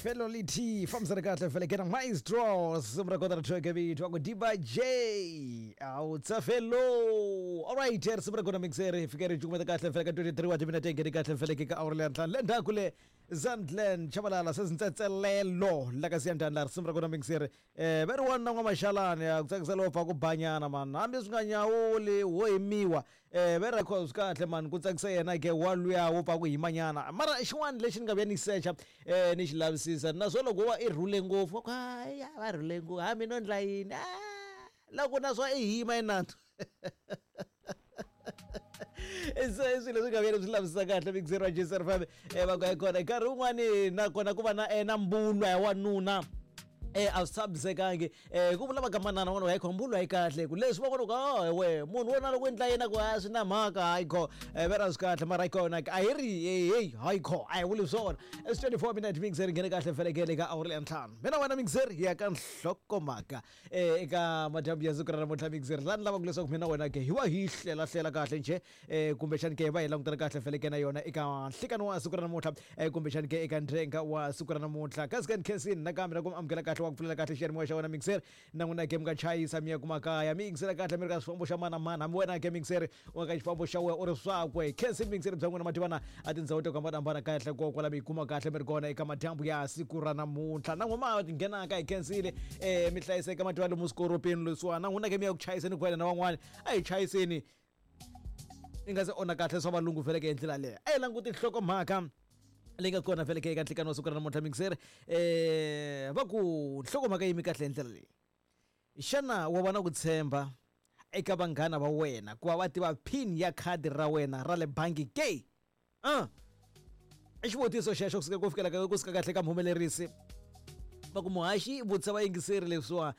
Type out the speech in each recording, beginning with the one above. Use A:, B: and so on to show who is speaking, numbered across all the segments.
A: Felo lithi fambisana kahle fele kena maestro simu ra kona ra track vito ku Diba J awutsa felo. Alright, risimu ra kona mixer fike ri cukumeta kahle fele ka 23 wa timinete ngheni kahle fele ke ka awara leya ntlhanu le ndzhaku le Zandland Chabalala sezintsentselelo la ka siyandani la risimu ra kona mixer va ri wanuna n'wamaxalani a ku tsakisa lowo pfa ku banyana mani hambi swi nga nyawuli wo himiwa va ri swi kahle mani ku tsakisa yena ke wa luya wo pfa ku himanyana mara xin'wana lexi ni nga vuya ni secha ni xi lavisisa naswona loko wo va i rhule ngopfu va ku hayi va rhule ngopfu hambi no ndla yini loko naswona i hima i nandzu. Se i swilo leswi nga vuyela swi lavisisa kahle mixer wa Jason FM va ku kona nkarhi wun'wani nakona ku va na na mbulwa ya wanuna a swi tshamisekangi ku vula va ka manana n'wana hayi kho mbulwa yi kahle ku leswi va vona ku oh we munhu wo na loko endla yena ku a swi na mhaka hayi kho ve ra swi kahle mara kona a hi ri hey hayi kho a hi vuli swona. It's 24 minute mixer nghene kahle felekele ka awara ya ntlhanu mina wena mixer hi ya ka nhlokomhaka eka madyambu ya siku ra namuntlha mixer laha ni lavaka leswaku mina wena ke hi va hi hlela hlela kahle njhe kumbexani ke hi va hi langutana kahle feleke na yona eka nhlikani wa siku ra namuntlha kumbexani ke eka ndrenga wa siku ra namuntlha kasi ka nkhensini nakambe na ku mi amukela kahle wa ku pfulela kahle xiyanimoya xa wena mixer na n'wina ke mi nga chayisa mi ya kuma kaya mi yingisela kahle mi ri ka xifambo xa mana mana hambi wena ke mixer u nga ka xifambo xa wena u ri swakwe khensini mixer bya n'wina mativana a tindhawu to hambanahambana kahle ko kwala mi yi kuma kahle mi ri kona eka madyambu ya siku ra namuntlha na n'wina ma nghenaka hi khensile mi hlayiseka mativa lomu swikoropeni leswiwani na n'wina ke mi ya ku chayiseni ku na van'wani a hi chayiseni i nga se onha kahle swa valungu vheleke hi ndlela leyo a hi languti nhlokomhaka leyi nga kona vheleke eka nhlikani wa siku ra namuntlha mixer va ku nhlokomhaka yimi kahle hi ndlela leyi xana wa va na ku tshemba eka vanghana va wena ku va va tiva pin ya khadi ra wena ra le bangi ke i xivutiso xexo kusuka ku fikela ka kusuka kahle ka muhumelerisi va ku muhaxi vutisa vayingiseri leswiwa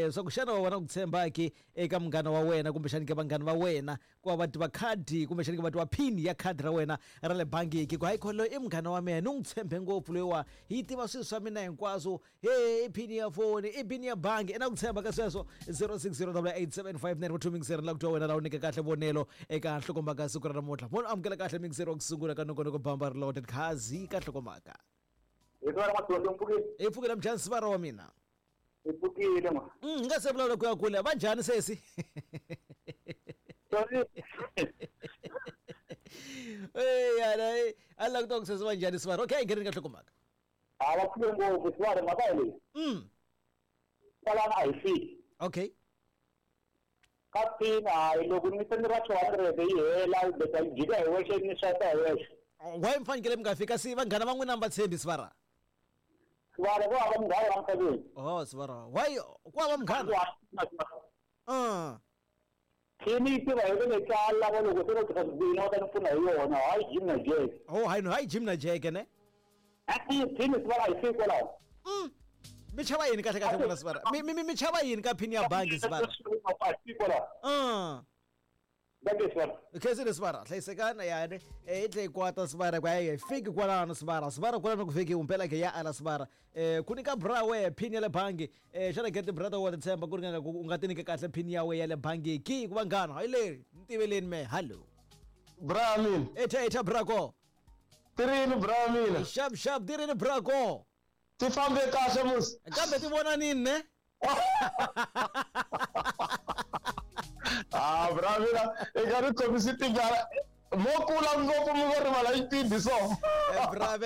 A: swa ku xana wa vona ku tshemba ke eka munghana wa wena kumbexani ke vanghana va wena ku va va tiva khadi kumbexani ke va tiva pin ya khadi ra wena ra le bangi ke ku hayi kho loyi i munghana wa mina ni n'wi tshembe ngopfu loyiwa yi tiva swilo swa mina hinkwaswo he i pin ya foni i pin ya bangi i na ku tshemba ka sweswo 06088759 2 mixer la ku twa wena la u nyike kahle vonelo eka nhlokomhaka siku ra namuntlha munhu amukela kahle mixer wa ku sungula ka nongonoko bamba ri loaded khazi ka nhlokomhaka
B: Hi siva ra Madondo mpfukile.
A: Hi pfukile mjhani siva ra wa mina.
B: Hi pfukile ma.
A: Hi nga se vulavula ku ya kule va njhani sesi?
B: Sorry.
A: Eh yana a la ku twa ku sesi va njhani siva. Okay, ngheneni ka nhlokomhaka.
B: A va pfuke ngopfu siva mhaka hi leyi. Kwalano a hi fiki.
A: Okay.
B: Ka pin hayi loko ni se ni ra 200 yi hela yi beta yi jika hi wexe ni swipe hi wexe.
A: Why mi fanekele mi nga fika si vanghana va n'wina mi va tshembi sivara?
B: Sivara ku hava munghana la misaveni.
A: Oh sivara. Why ku hava munghana?
B: Pin yi tiva hi le kaya lava loko se va tirha swibini va ta ni pfuna hi yona hayi Jim na Jack.
A: Oh hayi no hayi Jim na Jack ne?
B: E-e pin sivara a yi fiki kwalaho.
A: Mi chava yini kahle kahle n'wina sivara? Mi mi mi chava yini ka pin ya bangi sivara?
B: A yi fiki kwalaho. Dankie sivara.
A: Khensile sivara, hlayisekani yani i tlhe yi kwata sivara ku hayi fiki kwalano sivara, sivara kwalano ku fiki mpela ke ya ala sivara. Ku nyika bra we pin ya le bangi xana ke ti-brother wa ti tshemba ku ringana ku u nga ti nyika kahle pin ya we ya le bangi ki ku vanghana hayi leri ni tiveleni me hallo.
C: Bra mina.
A: Etha etha bra ko.
C: Tirini bra mina.
A: Sharp sharp tirini bra ko.
C: Ti fambe kahle musi.
A: Kambe ti vona nini ne?
C: Ah bra mina i nga ri khomisi tingana mo kula ngopfu mi ngo rivala xipidi so.
A: Bra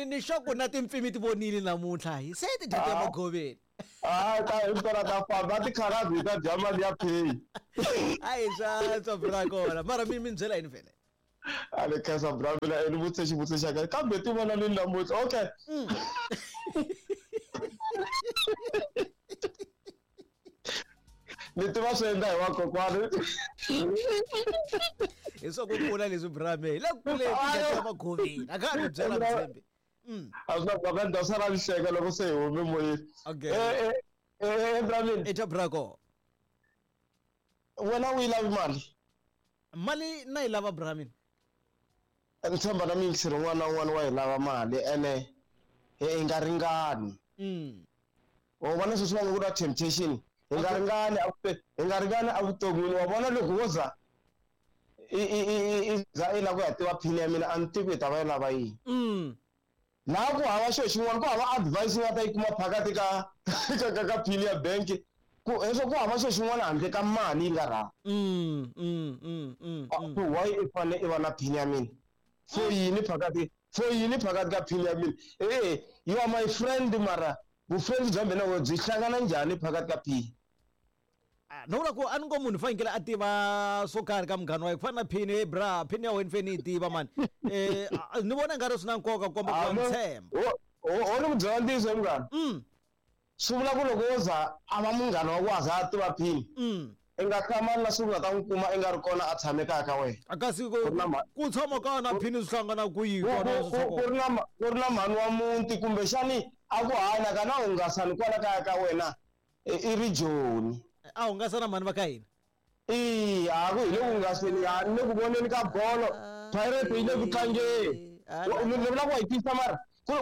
A: ni sure ku na timpfimi ti vonile namuntlha hi se ti dya emagoveni.
C: Ah ta himpela ta famba ti kharazi hi ta dya mali ya pay.
A: A hi swa bra kona mara mi mi byela yini vhele?
C: A ni khensa bra mina ni vutise xivutiso xa kahle kambe ti vona nini namuntlha okay. Ni tiva swi endla hi vakokwani.
A: Hi swa ku kula leswi bra me hi le ku kuleni ti magoveni a ka ha ri byela mtshembi.
C: A swi na mhaka ni ta sala ni hleka loko se hi hume moyeni.
A: Okay.
C: Bra mina.
A: Etha bra ko.
C: Wena u yi lavi mali?
A: Mali na yi lava bra mina.
C: Ni tshemba na miyingiseri un'wana na un'wana wa yi lava mali ene hi nga ringani. Wa vona sweswi va nga ku na temptation hi nga ringani hi nga ringani evuton'wini wa vona loko wo za i za i lava ku ya tiva pin ya mina a ni tivi i ta va i lava yini. Laha ku hava xo xin'wana, ku hava advice yi nga ta yi kuma phakati ka ka pin ya bank. Ku heswo ku hava xo xin'wana handle ka mali yi nga rhanga. So why i fane i va na pin ya mina? For yini phakati? For yini phakati ka pin ya mina? Eh, you are my friend mara vufriend bya mina byi hlangana njhani phakati ka pin?
A: No vula ku a ni ngo munhu fanekele a tiva swo karhi ka munghana wa yena ku fana na pin, hey bra, pin ya wena fane yi tiva mani. Ni vona nga ri swi na nkoka ku komba ku wa ni tshemba.
C: Ho ni ku byela ntiyiso munghana. Swi vula ku loko wo za a va munghana wa ku a za a tiva pin, i nga hlamali na siku u nga ta n'wi kuma i nga ri kona a tshame kaya ka wena.
A: Kasi ku tshama kaya na pin swi hlangana kwihi kona swi tshama
C: Ku ri na mhani wa muti kumbexani a ku hayi na hungasani kwala kaya ka wena i ri joni.
A: A hungasa na mhani va ka hina?
C: Eya, a ku hi le ku hungaseni, ha ni le ku voneni ka bolo, Pirates yi le ku tlangeni. Ni vula ku wa yi twisisa mara ku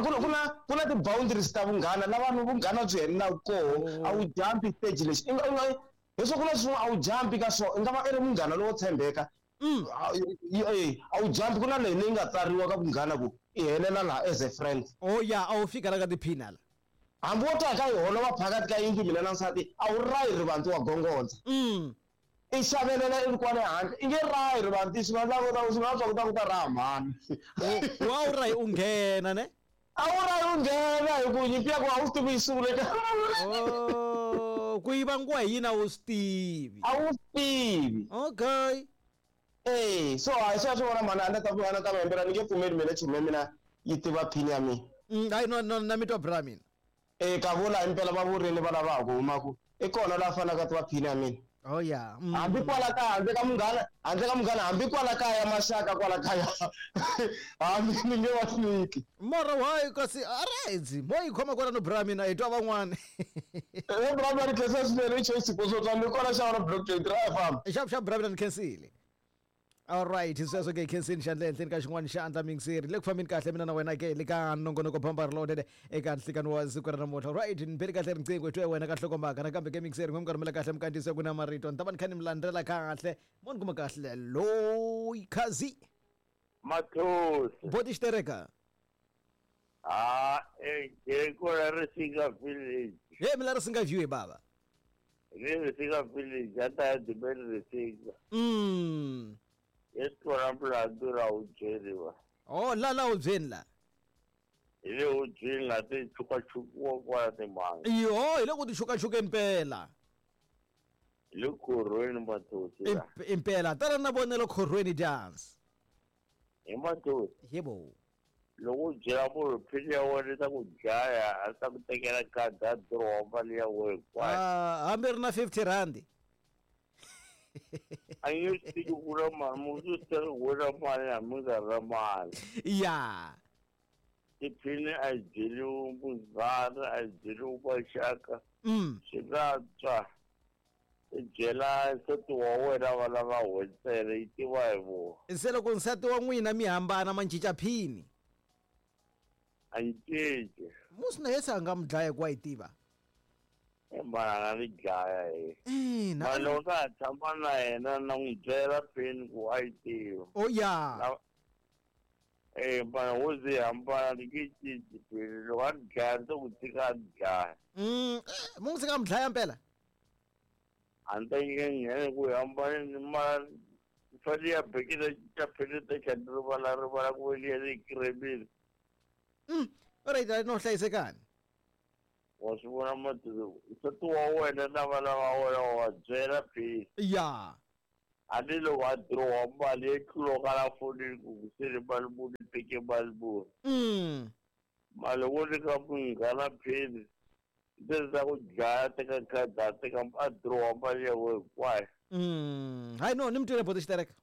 C: na ti-boundaries ta vunghana la vanhu vunghana byi helelaka koho, a wu jump-i stage lexi. I nga leswaku ku na swin'wana a wu jump-i ka swona, i nga va i ri munghana lowo tshembeka. A wu jump-i, ku na leyi leyi nga tsariwa ka vunghana ku i helela laha as a friend.
A: Oh ya, a wu fika la ka tiphina la.
C: Hambi wo ta ka yi holova phakati ka yindlu mina na nsati, a wu rahi rivanti wa gongondza. I xavelela i ri kwale handle, i nge rahi rivanti, swi nga endla swi nga swa ku ta ku ta raha mhani.
A: Wa wu rahi u nghena ne?
C: A wu rahi u nghena hi ku nyimpi ya ku a wu swi tivi yi sungule ka.
A: Oh, ku yi vangiwa hi yini a wu swi tivi.
C: A wu swi tivi.
A: Okay.
C: Eh, so a swi vona mhani a ni ta a ni ta va hembela ni nge pfumeli mina chomi ya mina yi tiva pin ya mina.
A: Hayi no no na mi twa bra mina.
C: Eh, ka vula impela va vurini va lava ha ku humaku i kona la fanaka tiva pin ya mina.
A: Oh yeah.
C: Hambi kwala kaya handle ka munghana, handle ka munghana hambi kwala kaya maxaka kwala kaya. Hambi ni nge va nyiki.
A: Mara why kasi alright, mo yi khoma kwala no bra mina hi twa van'wana.
C: Eh bra mina ni khensa swinene i choice sipho swo twa ni kona xa wona block 23 a famba.
A: Xap xap bra mina ni khensile. Alright, sweswo ke khensini xandla ehenhleni ka xin'wana xandla mingiseri le ku fambeni kahle mina na wena ke le ka nongonoko bamba rilodede eka nhlikani wa siku ra namuntlha. Alright, ni beli kahle riqingho hi twa wena ka nhlokomhaka nakambe ke mingiseri n'we mi rhumela kahle minkandziyiso ku na marito ni ta va ni kha ni mi landzela kahle mo ni kuma kahle loyi khazi
B: Mathosi.
A: Boti xitereka.
B: Ha, e kona Risinga village.
A: He mi la Risinga view he baba.
B: Ni Risinga village a ta ya dibeni Risinga. Yes, kona mlandu ra wu byeriwa.
A: Oh, la la wu byeni la.
B: Hi le wu byeni la ti chukachukiwa kwala timanga.
A: Yo, hi le ku ti chukachukeni pela.
B: Hi le khorhweni Mathosi la.
A: Impela, tala na vonelo khorhweni dance.
B: Hi Mathosi.
A: Yebo.
B: Loko u byela munhu phini ya wena ta ku dlaya, a ta ku tekela khadi a dirowa mali ya wena hinkwayo.
A: Hambi ri na 50 rand.
B: A nge swi tiki ku na mali, munhu u swi teka ku na mali hambi nga ri na mali.
A: Ya.
B: Tiphini a yi byeriwi munghana, a yi byeriwi maxaka. Swi nga twa. I byela nsati wa wena va lava ntsena yi tiva hi vona.
A: Se loko nsati wa n'wina mi hambana ma cinca phini?
B: A yi cinci.
A: Musi na yese a nga mi dlaya ku wa yi tiva.
B: Mara a nga ni dlaya he.
A: Ina.
B: Mara loko na ha tshama na yena na n'wi byela phini ku a yi tiva.
A: Oh ya.
B: Eh, mara wo ze hambana ni nge cinci phini. Loko a ni dlaya ni to n'wi tshika a ni dlaya.
A: Mu n'wi tshika a mi dlaya mpela?
B: A ni ta nghena ku hambana mara fanele ya bekile ta phini ta tlhela ni rivala rivala ku ve liya yi kiremile.
A: Alright, no hlayisekani.
B: Wa swi vona Mathosi, nsati wa wena na vana va wena wa va byela phini.
A: Ya.
B: Hambi loko a dirowa mali yi tluloka la fonini ku se ni mali muni ni teke mali muni. Mali wo nyika munghana phini ndzi ta ku dlaya teka khadi a teka a dirowa mali ya wena hinkwayo.
A: Hayi no, ni mi twile boti xitereka.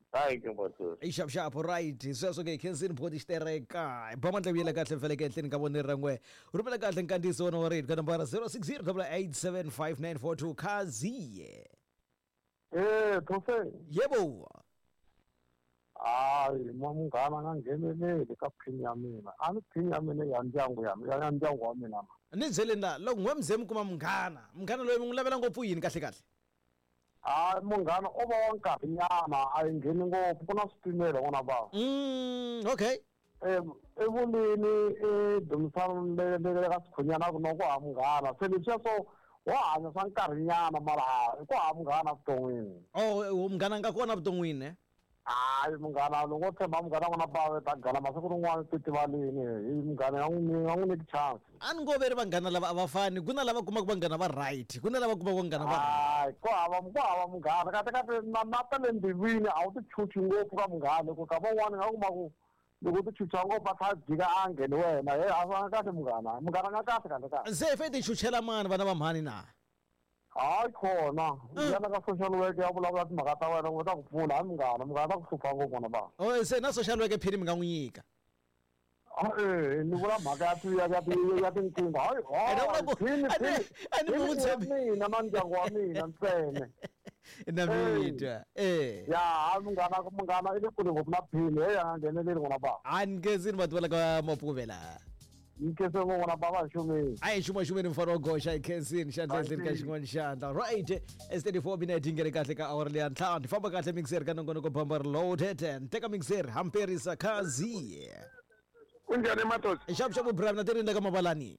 B: Thank you, Mathosi.
A: I xap xap, right. Sweswo ke khensini boti xitereka. Ba mandla vuyela kahle mfeleke ehenhleni ka vonelo ra n'we. Rhumela kahle nkandziyiso wona wa rito ka nambara 0608875942 Khaziye.
D: Eh, Those.
A: Yebo.
D: Hayi, munghana nga ngheneleli ka phini ya mina. A ni phini ya mina ya ndyangu ya mina, ya ndyangu wa mina.
A: Ni byeleni la, loko n'we mi ze mi kuma munghana, munghana loyi mi n'wi lavela ngopfu yini kahle kahle?
D: Hayi, munghana o va wa nkarhinyana, a yi ngheni ngopfu, ku na swipimelo n'wana va.
A: Okay.
D: I vulini i dumisani le ka Sikhunyana ku no ku hava munghana. Se leswiya swo wo hanya swa nkarhinyana mara ku hava munghana evuton'wini.
A: Oh, munghana nga kona evuton'wini eh?
D: Hayi munghana loko wo tshemba munghana n'wana ba ta gala masiku rin'wana titivalini hi munghana ya n'wi ya n'wi nyiki chance.
A: A ni ngo ve ri vanghana lava a va fani ku na lava kumaka vanghana va right ku na lava kumaka vanghana va
D: Hayi ku hava munghana kahle kahle na na ta le mbilwini a wu ti chuchi ngopfu ka munghana ku ka van'wani nga kuma ku loko u ti chucha ngopfu a kha a jika a ngheni wena he a nga kahle munghana munghana nga kahle kahle kahle.
A: Se fe ti chuchela mani vana va mhani na?
D: Hayi khona yana ka social work ya vulavula timhaka ta wena ku ta ku pfuna hayi munghana munghana ta ku hlupha ngopfu n'wana ba.
A: Oh, se na social work phini mi nga n'wi nyika?
D: Eh, ni vula mhaka ya ti ya ti ya tinqingho hayi.
A: Ene vula ku
D: phini phini
A: a ni n'wi tshembi.
D: Mina na ndyangu wa mina ntsena.
A: Na mitwa eh.
D: Ya hayi munghana munghana i le kule ngopfu na phini he ya nga ngheneleli n'wana ba.
A: A ni khensini vati va la ka Mapfuvela.
D: Nkese ngo n'wana ba va xumeni.
A: A hi xuma xumeni mfana wa goxa hi khensini xandla ehenhleni ka xin'wana xandla. Right, s 34 minute yi nghene kahle ka awara leya ntlhanu hi famba kahle mixer ka nongonoko bamba reloaded teka mixer hamperisa khazi.
E: Kunjhani Matosi?
A: Xavu xavu bra mina ti ri ka mavalani.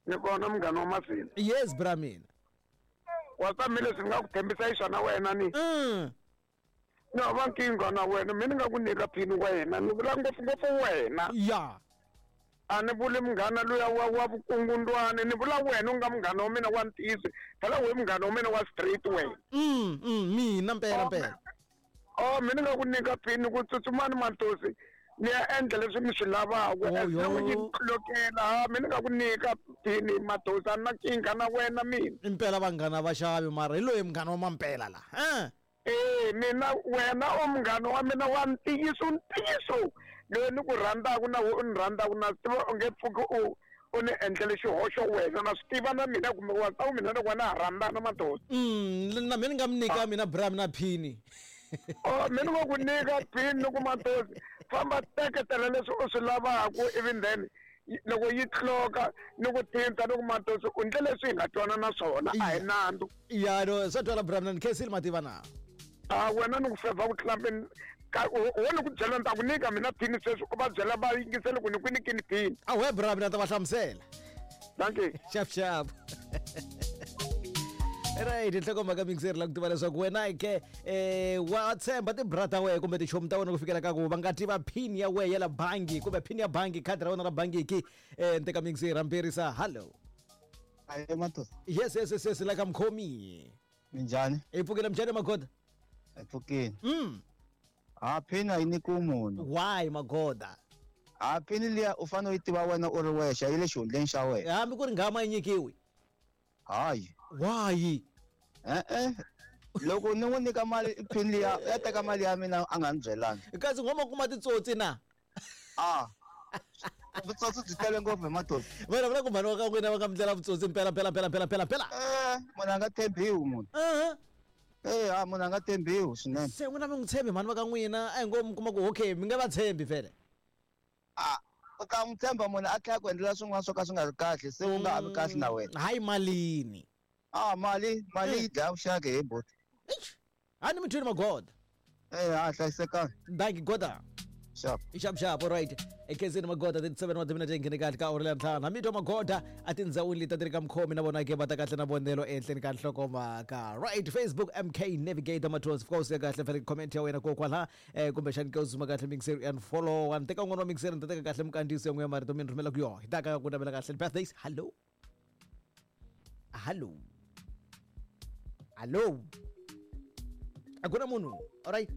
E: Ni kona munghana wa Masina.
A: Yes bra mina.
E: Wa tshame leswi ni nga ku tshembisa hi swona wena ni. Ni hava nkingha na wena mi ni nga ku nyika phini wena ni vula ngopfungopfu wena.
A: Ya.
E: A ni vuli munghana luya wa vukungundwani ni vula wena u nga munghana wa mina wa ntiyiso phela we munghana wa mina wa straight wena.
A: Mina mpela mpela.
E: Oh mi ni nga ku nyika phini ku tsutsumani Matosi ni ya endla leswi mi swi lavaka.
A: Oh, yo.
E: Loko yi tlokela ha mi ni nga ku nyika phini Matosi a ni na nkingha na wena mina.
A: Impela vanghana va xavi mara hi loyi munghana wa mampela la. Eh.
E: Eh mina wena u munghana wa mina wa ntiyiso ntiyiso loyi ni ku rhandzaka na u ni rhandzaka na swi tiva u nge pfuki u ni endlele xihoxo wena na swi tiva na mina kumbe wa ta mina loko wena ha rhandzana Matosi.
A: Na mina ni nga mi nyika mina bra mina phini.
E: Oh mina ngo ku nyika phini ni ku Matosi famba teketela leswi u swi lavaka even then loko yi tloka ni ku thinta ni ku Matosi u ndle leswi hi nga twana na swona a hi nandzu.
A: Ya no swa twala bra mina ni khensile mativa na.
E: A wena ni ku fevha ku tlula wo ni ku byela ni ta ku nyika mina phini sweswi u va byela va yingisele ku ni ku nyikini phini.
A: A we bra mina ta va hlamusela.
E: Thank you.
A: Xap xap. Right, nhlokomhaka mixer la ku tiva leswaku wena ke wa tshemba tibra ta wena kumbe tichomi ta wena ku fikela ka ku va nga tiva pin ya wena ya la bangi kumbe pin ya bangi khadi ra wena ra bangi ki nteka mixer hamperisa. Hello.
F: Aye Matosi.
A: Yes yes yes yes la ka mkhomi.
F: Minjhani?
A: Hi pfukile mjhani Magoda?
F: Hi pfukile. Ha pin a yi nyikiwi munhu.
A: Why Magoda?
F: Ha pin liya u fanele u yi tiva wena u ri wexe yi le xihundleni xa wena.
A: Hambi ku ri nghama yi nyikiwi.
F: Hayi.
A: Why?
F: Eh. Loko ni n'wi nyika mali pin liya ya teka mali ya mina a nga ni byelanga.
A: Kasi nghoma kuma titsotsi na?
F: Ah. Vutsotsi byi tele ngopfu hi Matosi.
A: Vana vula ku mhani wa ka n'wina va nga mi ndlela vutsotsi mpela mpela mpela mpela mpela mpela.
F: Eh, munhu a nga tshembiwi munhu. Eh, ha munhu a nga tshembiwi swinene.
A: Se n'wina mi n'wi tshembi mhani va ka n'wina a hi ngo mi kuma ku okay mi nga va tshembi vhele.
F: Ah, u ta n'wi tshemba munhu a tlhela ku endlela swin'wana swo ka swi nga ri kahle se u nga ha vi kahle na wena.
A: Hayi malini.
F: Ah, mali mali yi dlaya vuxaka he buti.
A: A ni mi twini Magoda.
F: Eh, ha hlayisekanga.
A: Dankie Goda.
F: Sharp.
A: Sharp sharp, all right. Ekhensini Magoda 37 wa timinete nghene kahle ka awara ya ntlhanu. Hambi twa Magoda a tindhawini leti a ti ri ka mukhomi na vona ke va ta kahle na vonelo ehenhleni ka nhlokomhaka. Right, Facebook MK Navigator Matos of course ya kahle fanele comment ya wena kokwala kumbexani ke u zuma kahle mixer and follow wa teka un'wana wa mixer ni ta teka kahle minkandziyiso ya n'we ya marito mi ni rhumela ku yona. Hi ta ka ku navela kahle birthdays. Hello. Hello. Hello. A ku na munhu. All right.